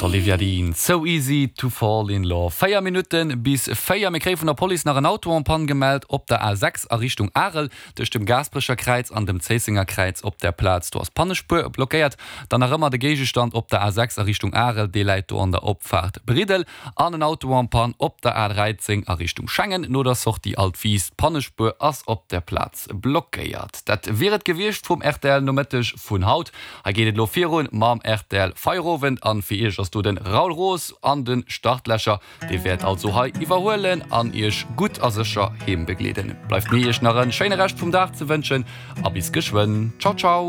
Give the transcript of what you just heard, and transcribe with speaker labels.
Speaker 1: D'Olivia Dean, So Easy to Fall in Love. 4 Minutte bis 4. Mir kréie vun der Police nach en Auto en panne gemellt op der A6 a Richtung Arel, tëscht dem Gaasperecher Kräiz an dem Zéissenger Kräiz op der Plaz. Do ass d'Pannespuer blockéiert. Dann nach ëmmer de Géigestand op der A6 a Richtung Arel, dee läit do an der Opfaart Briddel. An en Auto en panne op der A13 a Richtung Schengen no der Sortie Altwiis. D'Pannespuer ass op der Plaz blockéiert. Dat wier et gewiescht vum rtl Nomëtteg vun haut. Hei geet et elo virun mam rtl Feierowend an fir iech ass do den Raoul Roos an den Startlächer. Dee wäert also hei iwwerhuelen an iech gutt a sécher heem begleeden. Bleift mir iech nach en schéine Rescht vum Dag ze wënschen a bis geschwënn. Ciao ciao.